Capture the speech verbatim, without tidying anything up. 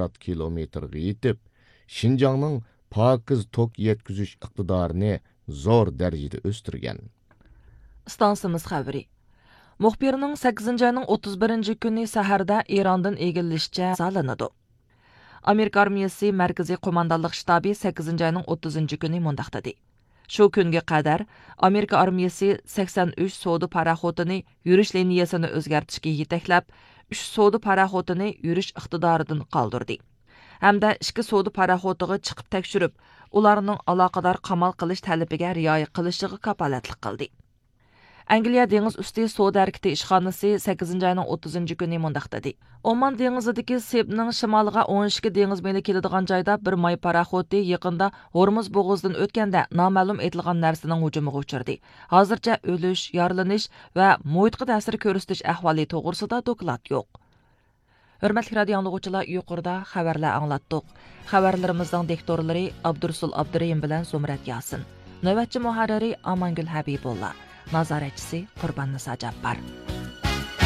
مىليارد كىلومېتىرغا يېتىپ، شىنجاڭنىڭ پاكىز توك يەتكۈزۈش ئىقتىدارىنى زور دەرىجىدە ئۆستۈرگەن. ئىستانسىمىز خەۋىرى. مۇخبىرنىڭ سەككىزىنچى ئاينىڭ ئوتتۇز بىرىنچى كۈنى سەھەردە ئىراندىن ئىگىلىشىچە سالىنىدۇ. ئامېرىكا ئارمىيىسى مەركىزىي قوماندانلىق شتابى سەككىزىنچى ئاينىڭ ئوتتۇزىنچى كۈنى مۇنداق دېدى: شۇ كۈنگە قەدەر ئامېرىكا ئارمىيىسى سەكسەن ئۈچ سودا پاراخوتىنى يۈرۈش لىنىيەسىنى ئۆزگەرتىشكە يېتەكلەپ، ئۈچ سودا پاراخوتىنى يۈرۈش ئىقتىدارىدىن قالدۇردى ھەمدە ئىككى سودا پاراخوتىغا چىقىپ تەكشۈرۈپ، ئۇلارنىڭ ئالاقىدار قامال قىلىش تەلىپىگە رىئايە قىلىشىغا كاپالەتلىك قىلدى. ئەنگلىيە دېڭىز ئۈستى سودا ھەرىكىتى ئىشخانىسى سەككىزىنچى ئاينىڭ ئوتتۇزىنچى كۈنى مۇنداق دېدى: ئومان دېڭىزىدىكى سېبنىڭ شىمالىغا ئون ئىككى دېڭىز مېلى كېلىدىغان جايدا بىر ماي پاراخوتى يېقىندا ھورمۇز بوغۇزىدىن ئۆتكەندە نامەلۇم ئېتىلغان نەرسىنىڭ ھۇجۇمىغا ئۇچرىدى. ھازىرچە ئۆلۈش، يارىلىنىش ۋە مۇھىتقا تەسىر كۆرسىتىش ئەھۋالى توغرىسىدا دوكلات يوق. ھۆرمەتلىك رادىيو ئاڭلىغۇچىلار، يۇقىرىدا خەۋەرلەر ئاڭلاتتۇق. خەۋەرلىرىمىزنىڭ دىكتورلىرى ئابدۇرۇسۇل ئابدۇرېھىم بىلەن زۇمرەت ياسىن. نۆۋەتچى مۇھەررىرى ئامانگۈل ھەبىبۇللا. نازارەتچىسى قۇرباننىسا جاپپار.